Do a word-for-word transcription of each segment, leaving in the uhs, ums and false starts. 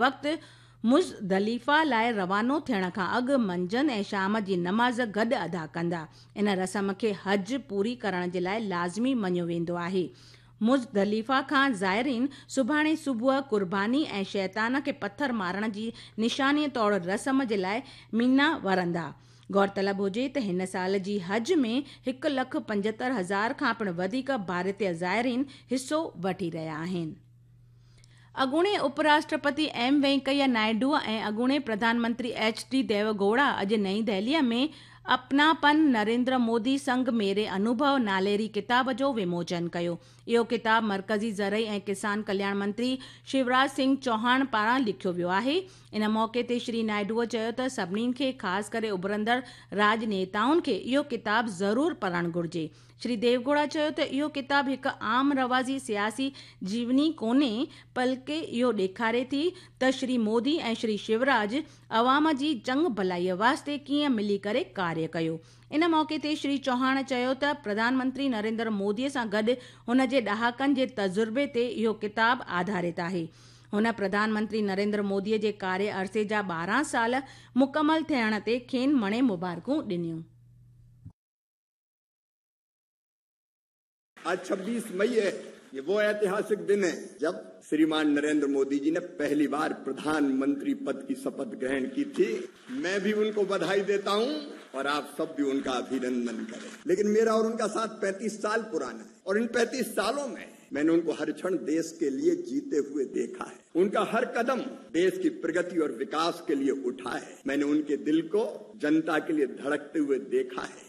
وقت مزدلفه لاءِ روانو ٿيڻ کان اڳ منجهند ۽ شام جي نماز گڏ ادا ڪندا. ان رسم کي حج پوري ڪرڻ جي لاءِ لازمي مڃيو ويندو آهي. مزدلفه کان زائرين سڀاڻي صبح قرباني ۽ شيطان کي پٿر مارڻ جي نشاني طور رسم جي لاءِ منيٰ ورندا. غور طلب هجي ته هن سال جي حج ۾ هڪ لک پنجهتر هزار کان پڻ وڌيڪ ڀارتي زائرين حصو وٺي رهيا آهن. اڳوڻي اپ راشٽرپتي ايم وينڪيا نائيڊو ۽ اڳوڻي پرڌان منتري ايڇ ڊي ديوگوڙا اڄ نئين دهليءَ ۾ اپناپن نريندر مودي سنگ ميري انوڀو ناليري ڪتاب جو وموچن ڪيو. اهو ڪتاب مرڪزي زرعي ۽ ڪسان ڪلياڻ منتري شيوراج سنگهه چوهاڻ پاران لکيو ويو آهي. ان موقعي تي شري نائيڊوءَ چيو ته سڀني کي خاص ڪري اڀرندڙ راڄنيتائن کي اهو ڪتاب ضرور پڙهڻ گهرجي. شري ديوگوڙا چيو ته اهو ڪتاب هڪ عام رواجي سياسي جيوني ڪونهي، بلڪه اهو ڏيکاري ٿي ته شري مودي ۽ شري شيوراج عوام جي چڱ ڀلائيءَ واسطي ڪيئن ملي ڪري ڪاريه ڪيو. ان موقعي تي شري چوهاڻ چيو ته پرڌان منتري نريندر موديءَ سان گڏ هن جي ڏهاڪن جي تجربي تي اهو ڪتاب آڌارت آهي. هن پرڌان منتري نريندر موديءَ جي ڪاريه عرصي جا ٻارهن سال مڪمل ٿيڻ تي کين مڻي مبارڪون ڏنيون. आज छब्बीस मई है, ये वो ऐतिहासिक दिन है जब श्रीमान नरेंद्र मोदी जी ने पहली बार प्रधानमंत्री पद की शपथ ग्रहण की थी। मैं भी उनको बधाई देता हूं और आप सब भी उनका अभिनंदन करें। लेकिन मेरा और उनका साथ पैंतीस साल पुराना है और इन पैंतीस सालों में मैंने उनको हर क्षण देश के लिए जीते हुए देखा है। उनका हर कदम देश की प्रगति और विकास के लिए उठा है। मैंने उनके दिल को जनता के लिए धड़कते हुए देखा है।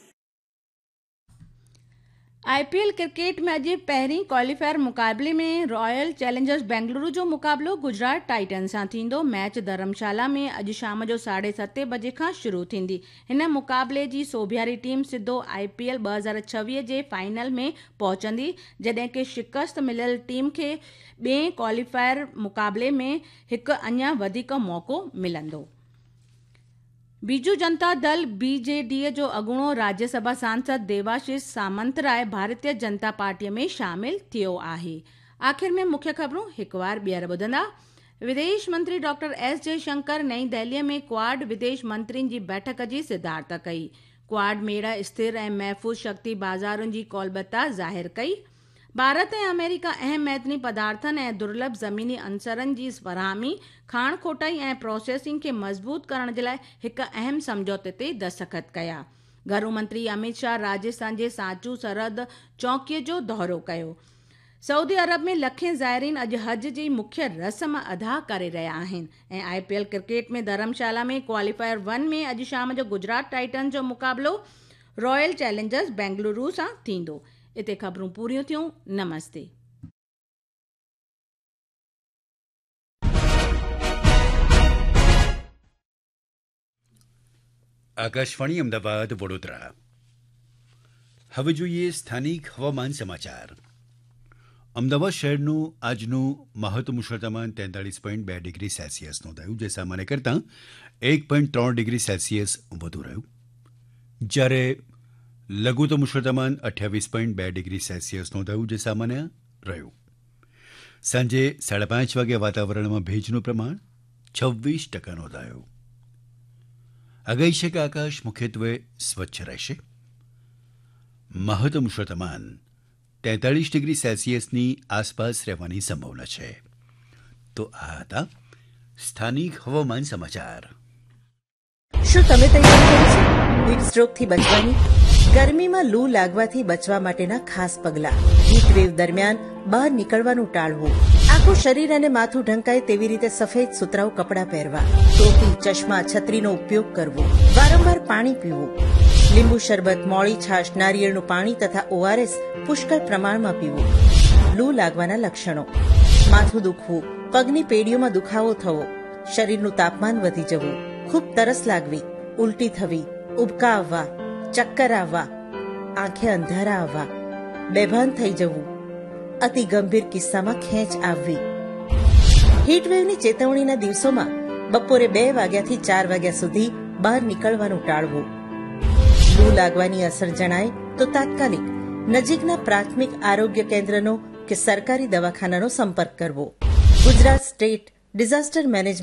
I P L cricket में अॼु पहिरीं क्वालीफायर मुक़ाबले में रॉयल चैलेंजर्स बेंगलुरु जो मुक़ाबिलो गुजरात टाइटन्स सां थींदो। मैच धर्मशाला में अॼु शाम जो साढे सते बजे खां शुरू थींदी। हिन मुक़ाबले जी सोभियारी टीम सिधो I P L ٻه هزار ڇويهه جي फाइनल में पहुचंदी, जॾहिं की शिकस्त मिलियल टीम खे ॿिए क्वालीफायर मुक़ाबले में हिकु अञा वधीक मौक़ो मिलंदो। Biju Janata Dal B J D जो अॻूणो राज्यसभा सांसद देवाशीष सामंतराय भारतीय जनता पार्टीअ में शामिल थियो आहे। आख़िर में मुख्य ख़बरूं हिकु बार ॿीहर ॿुधंदा। विदेश मंत्री डॉक्टर एस जयशंकर नई दिल्लीअ में क्वाड विदेश मंत्रियुनि जी बैठक जी सिद्धार्थ कई। क्वाड मेड़ स्थिर ऐं महफ़ूज़ शक्ति बाज़ारुनि जी कौलबता ज़ाहिर कई। भारत ऐं अमेरिका अहम मैदनी पदार्थनि ऐं दुर्लभ ज़मीनी अंसरनि जी फराहमी, खाण खोटाई ऐं प्रोसेसिंग खे मज़बूत करण जे लाइ हिकु अहम सम्झौते ते दस्तख़त कया। घरू मंत्री अमित शाह राजस्थान जे सांचू सरहद चौकीअ जो दौरो कयो। सऊदी अरब में लखें ज़ायरीन अॼु हज जी मुख्य रस्म अदा करे रहिया आहिनि। ऐं I P L cricket में धर्मशाला में क्वालीफायर वन में अॼु शाम जो गुजरात टाइटन्स जो मुक़ाबिलो रॉयल चैलेंजर्स बेंगलुरु सां थींदो। इते ख़बरूं पूरियूं थियूं। नमस्ते। આકાશવાણી અમદાવાદ વડોદરા. હવે જોઈએ સ્થાનિક હવામાન સમાચાર. અમદાવાદ શહેરનું આજનું મહત્તમ ઉષ્ણતામાન તેતાળીસ પોઈન્ટ બે ડિગ્રી સેલ્સિયસ નોંધાયું, જે સામાન્ય કરતાં એક પોઈન્ટ ત્રણ ડિગ્રી સેલ્સિયસ વધુ રહ્યું. જ્યારે લઘુત્તમ ઉષ્ણતામાન અઠ્યાવીસ પોઈન્ટ બે ડિગ્રી સેલ્સિયસ નોંધાયું, જે સામાન્ય રહ્યું. સાંજે સાડા પાંચ વાગે વાતાવરણમાં ભેજનું પ્રમાણ છવ્વીસ ટકા નોંધાયું. આગાહી છે કે આકાશ મુખ્યત્વે સ્વચ્છ રહેશે. મહત્તમ ઉષ્ણતામાન તેતાળીસ ડિગ્રી સેલ્સિયસની આસપાસ રહેવાની સંભાવના છે. તો આ હતા સ્થાનિક હવામાન સમાચાર. શું તમે તૈયારી કરી છે હીટ સ્ટ્રોકથી બચવાની? ગરમીમાં લૂ લાગવાથી બચવા માટેના ખાસ પગલાં. હીટ વેવ દરમિયાન બહાર નીકળવાનું ટાળવું. આખું શરીર અને માથું ઢંકાય તેવી રીતે સફેદ સુતરાઉ કપડાં પહેરવા. ટોપી, ચશ્મા, છત્રીનો ઉપયોગ કરવો. વારંવાર પાણી પીવું. લીંબુ શરબત, મોળી છાશ, નારિયેળનું પાણી તથા ઓઆરએસ પુષ્કળ પ્રમાણમાં પીવું. લૂ લાગવાના લક્ષણો: માથું દુખવું, પગની પેડીઓમાં દુખાવો થવો, શરીરનું તાપમાન વધી જવું, ખૂબ તરસ લાગવી, ઉલટી થવી, ઉબકા આવવા, ચક્કર આવવા, આંખે અંધારા આવવા, બેભાન થઈ જવું, અતિ ગંભીર કિસ્સામાં ખેંચ આવવી. હીટવેવની ચેતવણીના દિવસોમાં બપોરે બે વાગ્યાથી ચાર વાગ્યા સુધી બહાર નીકળવાનું ટાળવું. લૂ લાગવાની અસર જણાય તો તાત્કાલિક નજીકના પ્રાથમિક આરોગ્ય કેન્દ્રનો કે સરકારી દવાખાનાનો સંપર્ક કરવો. Gujarat state Disaster management